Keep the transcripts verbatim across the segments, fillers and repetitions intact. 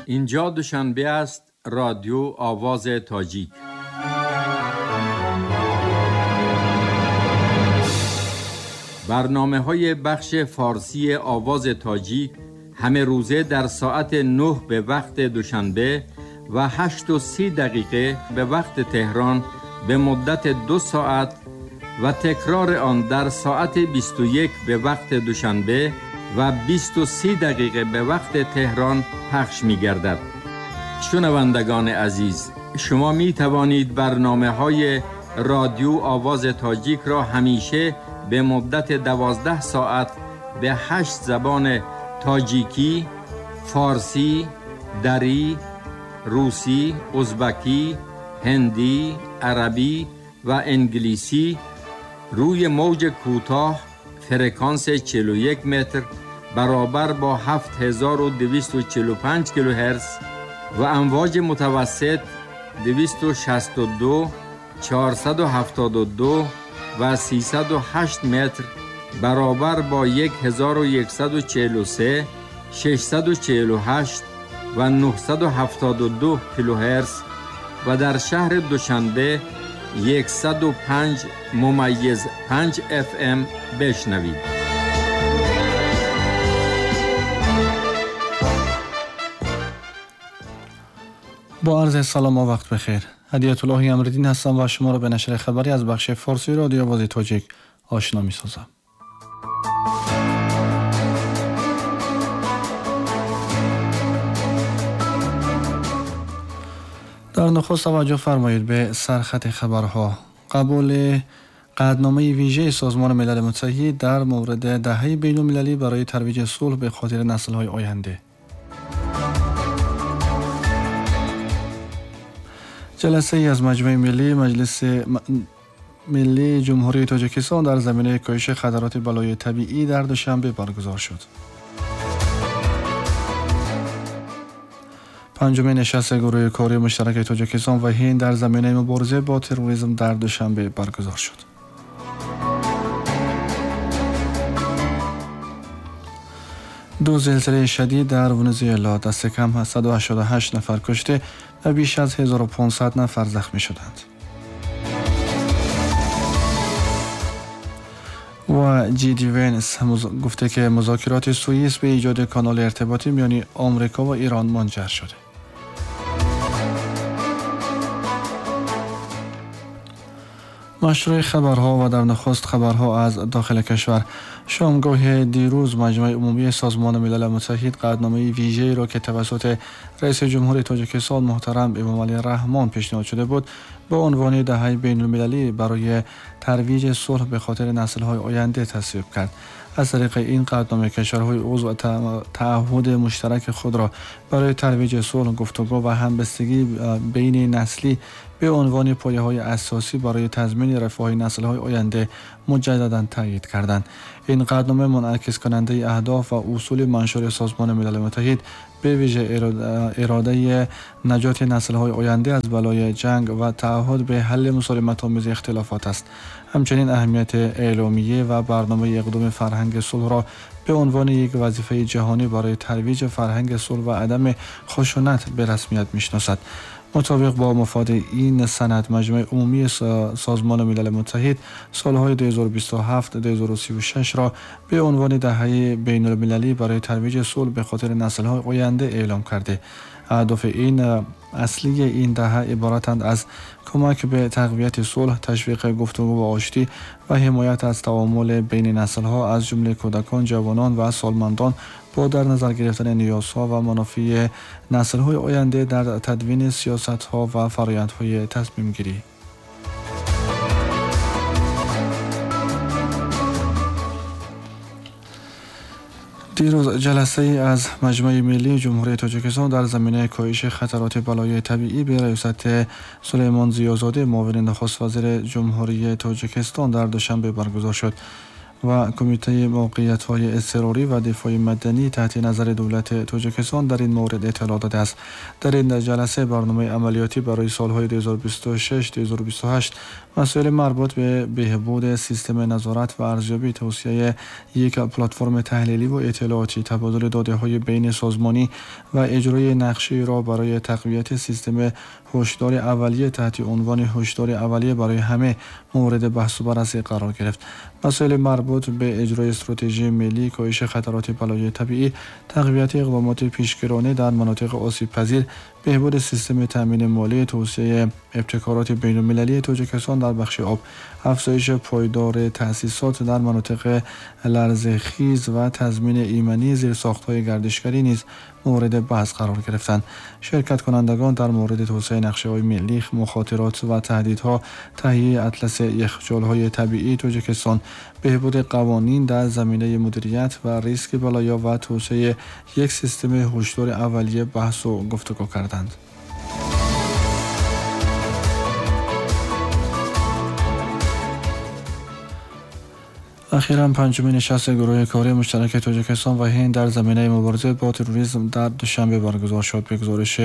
اینجا دوشنبه است، رادیو آواز تاجیک. برنامه های بخش فارسی آواز تاجیک همه روزه در ساعت نه به وقت دوشنبه و هشت و سی دقیقه به وقت تهران به مدت دو ساعت و تکرار آن در ساعت بیست و یک به وقت دوشنبه و بیست و سی دقیقه به وقت تهران پخش می گردد. شنوندگان عزیز، شما می توانید برنامه های رادیو آواز تاجیک را همیشه به مدت دوازده ساعت به هشت زبان تاجیکی، فارسی، دری، روسی، ازبکی، هندی، عربی و انگلیسی روی موج کوتاه فرکانس چهل و یک متر برابر با هفت هزار و دویست و چهل و پنج کیلوهرتز و امواج متوسط دویست و شصت و دو، چهارصد و هفتاد و دو و سیصد و هشت متر برابر با یک هزار و یکصد و چهل و سه، ششصد و چهل و هشت و نهصد و هفتاد و دو کیلوهرتز و در شهر دوشنبه یکصد و پنج ممیز پنج اف ام بشنوید. با عرض سلام و وقت بخیر. هدیت الله امردین هستم و شما را به نشر خبری از بخش فارسی رادیو آواز تاجیک آشنا می سازم. در نخست توجه فرمایید به سرخط خبرها. قبول قطعنامه ویژه سازمان ملل متحد در مورد دهه بین‌المللی برای ترویج صلح به خاطر نسل‌های آینده. جلسه ای از مجمع ملی مجلس ملی جمهوری تاجیکستان در زمینه کاهش خطرات بلای طبیعی در دوشنبه برگزار شد. پنجمین نشست گروه کاری مشترک تاجیکستان و هند در زمینه مبارزه با تروریسم در دوشنبه برگزار شد. دو زلزله شدید در ونزوئلا دست کم صد و هشتاد و هشت نفر کشته و بیش از هزار و پانصد نفر زخمی شدند. و جی دی ونس گفته که مذاکرات سوئیس به ایجاد کانال ارتباطی میان آمریکا و ایران منجر شده. مشروع خبرها و در نخست خبرها از داخل کشور. شامگاه دیروز مجمع عمومی سازمان ملل متحد قطعنامه ویژه‌ای را که توسط رئیس جمهور تاجیکستان محترم امامعلی رحمان پیشنهاد شده بود به عنوان دهه بین‌المللی برای ترویج صلح به خاطر نسل‌های آینده تصویب کرد. از طریق این قطعنامه کشورهای عضو تعهد مشترک خود را برای ترویج صلح، گفتگو و همبستگی بین نسلی به عنوان پایه‌های اساسی برای تضمین رفاه نسل‌های آینده مجدداً تایید کردند. این قطعنامه منعکس کننده اهداف و اصول منشور سازمان ملل متحد به ویژه اراده نجات نسل‌های آینده از بلای جنگ و تعهد به حل مسالمت‌آمیز اختلافات است. همچنین اهمیت اعلامیه و برنامه اقدام فرهنگ صلح را به عنوان یک وظیفه جهانی برای ترویج فرهنگ صلح و عدم خشونت به رسمیت می‌شناسد. مطابق با مفاد این سند مجمع عمومی سازمان ملل متحد سالهای دو هزار و بیست و هفت تا دو هزار و سی و شش را به عنوان دهه بین‌المللی برای ترویج صلح به خاطر نسل‌های آینده اعلام کرده. اهداف این اصلی این دهه عبارتند از کمک به تقویت صلح، تشویق گفتگو و آشتی و حمایت از تعامل بین نسل‌ها از جمله کودکان، جوانان و سالمندان با در نظر گرفتن نیازها و منافع نسل‌های آینده در تدوین سیاست‌ها و فرآیندهای تصمیم‌گیری. دیروز جلسه ای از مجمع ملی جمهوری تاجیکستان در زمینه کاهش خطرات بلای طبیعی به ریاست سلیمان ضیازاده معاون نخست وزیر جمهوری تاجیکستان در دوشنبه برگزار شد. و کمیته موقعیت‌های اضطراری و دفاع مدنی تحت نظر دولت تاجیکستان در این مورد اطلاع داده است. در این جلسه برنامه عملیاتی برای سالهای دو هزار و بیست و شش تا دو هزار و بیست و هشت مسائل مربوط به بهبود سیستم نظارت و ارزیابی، توسعه یک پلتفرم تحلیلی و اطلاعاتی، تبادل داده‌های بین سازمانی و اجرای نقشه را برای تقویت سیستم هشدار اولیه تحت عنوان هشدار اولیه برای همه مورد بحث و بررسی قرار گرفت. مسائل مربوط به اجرای استراتژی ملی کاهش خطرات بلایای طبیعی، تقویت اقدامات پیشگیرانه در مناطق آسیب پذیر، بهبود سیستم تامین مالی، توسعه ابتکارات بین‌المللی تاجیکستان در بخش آب، افزایش پایدار تأسیسات در مناطق لرزه‌خیز و تضمین ایمنی زیرساخت‌های گردشگری نیز مورد بحث قرار گرفتند. شرکت کنندگان در مورد توسعه نقشه‌های ملی، مخاطرات و تهدیدها، تهیه اطلس یخچال‌های طبیعی تاجیکستان، بهبود قوانین در زمینه مدیریت و ریسک بلایا و توسعه یک سیستم هشدار اولیه بحث و گفتگو کردند. اخیراً پنجمین نشست گروه کاری مشترک تاجیکستان و هند در زمینه مبارزه با تروریسم در دوشنبه برگزار شد. به گزارش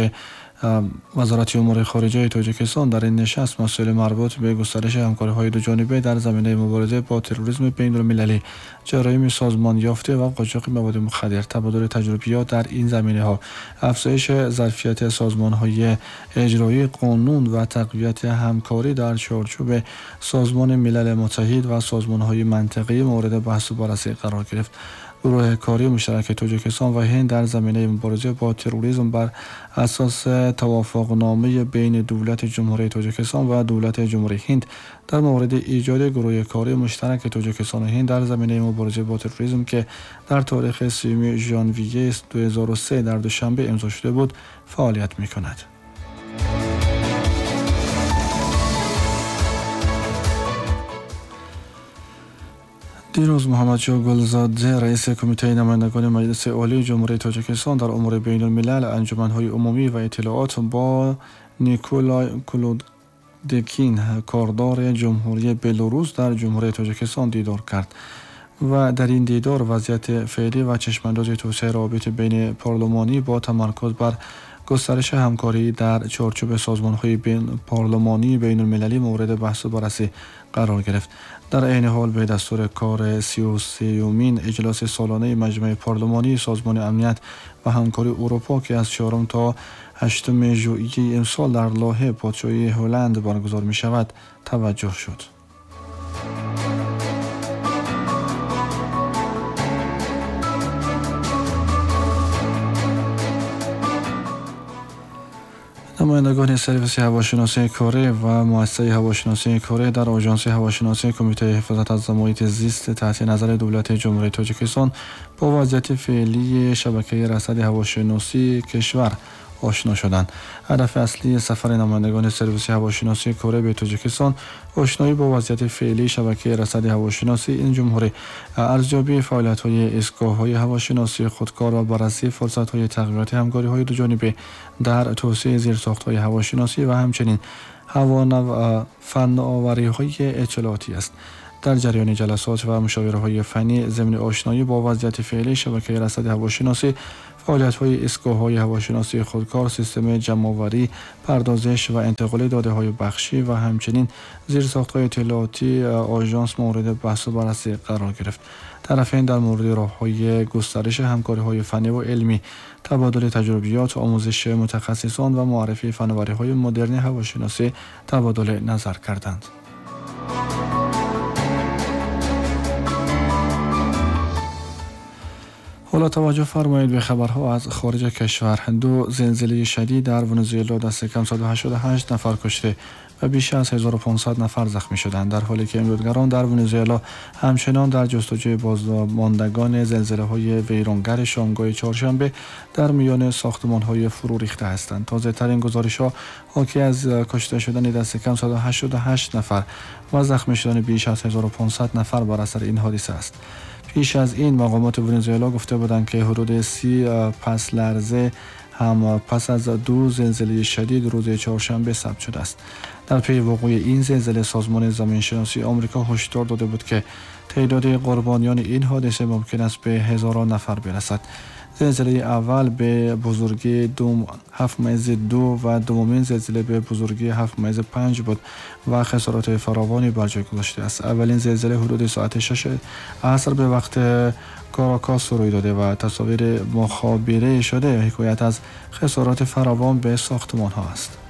وزارت امور خارجه تاجیکستان در این نشست مسائل مربوط به گسترش همکاری‌های دو جانبه در زمینه مبارزه با تروریسم بین‌المللی، جرایم سازمان یافته و قاچاق مواد مخدر، تبادل تجربیات در این زمینه‌ها، افزایش ظرفیت سازمان‌های اجرایی قانون و تقویت همکاری در چارچوب سازمان ملل متحد و سازمان‌های منطقه‌ای مورد بحث و بررسی قرار گرفت. گروه کاری مشترک تاجیکستان و هند در زمینه مبارزه با تروریسم بر اساس توافقنامه بین دولت جمهوری تاجیکستان و دولت جمهوری هند در مورد ایجاد گروه کاری مشترک تاجیکستان و هند در زمینه مبارزه با تروریسم که در تاریخ سوم ژانویه دو هزار و سه در دوشنبه امضا شده بود فعالیت می‌کند. دیروز محمد شاه گلزاده رئیس کمیته نمایندگان مجلس عالی جمهوری تاجیکستان در امور بین الملل، انجمن‌های عمومی و اطلاعات با نیکولای کلودکین کاردار جمهوری بلاروس در جمهوری تاجیکستان دیدار کرد و در این دیدار وضعیت فعلی و چشم‌انداز توسعه روابط بین پارلمانی با تمرکز بر گسترش همکاری در چارچوب سازمان‌های بین پارلمانی بین المللی مورد بحث و بررسی قرار گرفت. در عین حال به دستور کار سی و سومین اجلاس سالانه مجمع پارلمانی سازمان امنیت و همکاری اروپا که از چهارم تا هشتم ژوئیه امسال در لاهه پادشاهی هلند برگزار می شود توجه شد. نمایندگان سرویس هواشناسی کره و مؤسسه هواشناسی کره در آژانس هواشناسی کمیته حفاظت از محیط زیست تحت نظر دولت جمهوری تاجیکستان با وضعیت فعلی شبکه رصد هواشناسی کشور آشنا شدند. هدف اصلی سفر نمایندگان سرویس هواشناسی کره به تاجیکستان آشنایی با وضعیت فعلی شبکه رصد هواشناسی این جمهوری، ارزیابی فعالیت‌های ایستگاه‌های هواشناسی خودکار و بررسی فرصت‌های تقویت همکاری‌های دو جانبه در توسعه زیرساخت‌های هواشناسی و همچنین فناوری‌های اطلاعاتی است. در جریان جلسات و مشاوره‌های فنی ضمن آشنایی با وضعیت فعلی شبکه رصد هواشناسی، فعالیت‌های ایستگاه‌های هواشناسی خودکار، سیستم جمع‌آوری، پردازش و انتقال داده‌های بخشی و همچنین زیرساخت‌های اطلاعاتی آژانس مورد بحث و بررسی قرار گرفت. طرفین در مورد راه‌های گسترش همکاری‌های فنی و علمی، تبادل تجربیات، آموزش متخصصان و معرفی فناوری‌های مدرن هواشناسی تبادل نظر کردند. حالا توجه فرمایید به خبرها از خارج کشور. دو زلزله شدید در ونزوئلا دست کم صد و هشتاد و هشت نفر کشته و بیش از هزار و پانصد نفر زخمی شدند، در حالی که امدادگران در ونزوئلا همچنان در جستجوی بازماندگان زلزله‌های ویرانگر شامگاه چهارشنبه در میان ساختمان‌های فرو ریخته هستند. تازه‌ترین گزارش‌ها حاکی از کشته شدن دست کم صد و هشتاد و هشت نفر و زخمی شدن بیش از هزار و پانصد نفر بر اثر این حادثه است. پیش از این مقامات ونزوئلا گفته بودند که حدود سی پس لرزه هم پس از دو زلزله شدید روز چهارشنبه ثبت شده است. در پی وقوع این زلزله سازمان زمینشناسی آمریکا هشدار داده بود که تعداد قربانیان این حادثه ممکن است به هزاران نفر برسد. زلزله اول به بزرگی دو هفت ممیز دو و دومین زلزله به بزرگی هفت ممیز پنج بود و خسارات فراوانی بر جای گذاشته است. اولین زلزله حدود ساعت شش عصر به وقت کاراکاس روی داده و تصاویر مخابره شده حکایت از خسارات فراوان به ساختمان ها است.